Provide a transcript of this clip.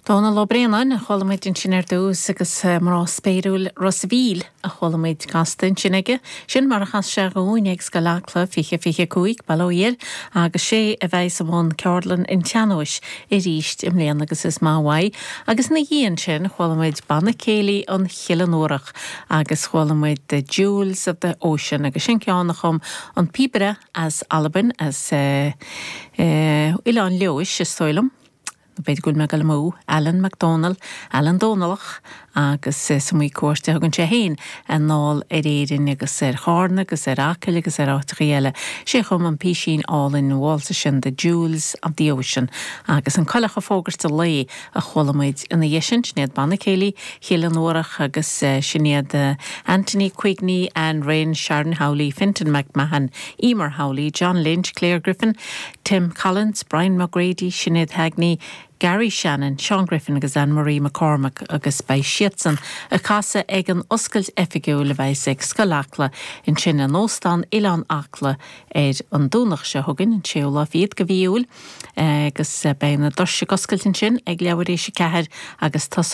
Dónal Ó Braonáin a chuala muid ansin ar dtús agus Mná Spéiriúil Ros a' Mhíl a chuala muid casta ansin aige. Sin mar a chas sé dhúinn ag Scoil Acla 2025, bail ó Dhia air, agus sé a bheidhs i mbun Ceardlann an tSean-Nóis aríst i mbliana agus is maith uaidh. Agus ina dhiaidh ansin chuala muid Banna Céilí an Chillin Fhuarach agus chuala muid The Jewels of the Ocean agus sin ceann a chum an píobaire as Albain, as Oileán Leodhais is dóigh liom. B'fhéidir go bhfuil mé ag dul amú, Alan McDonald, Alan Dónallach, agus is iomaí cuairt a thugann sé féin anall ar Éirinn agus ar Chárna agus ar Acaill agus ar áiteachaí eile. Sé a chum an písín álainn válsa sin The Jewels of the Ocean agus An Coileach ag Fógairt an Lae a chuala muid ina dhiaidh sin. Sin iad Banna Céilí Chill an Fhuarach agus sin iad Anthony Quigney, Anne Rynne, Sharon Howley, Fintan McMahon, Emer Howley, John Lynch, Claire Griffin, Tim Collins, Brian McGrady, Sinéad Heagney, Gary Shannon, Seán Griffin agus Anne Marie McCormack agus beidh siadsan ag casadh ag an oscailt oifigiúil a bheas ag Scoil Acla ansin in Óstán Oileán Acla ar an Domhnach seo chugainn, an séú lá fichead de mhí Iúil agus beidh na doirse ag oscailt ansin ag leathuair éis a ceathair agus tosóidh.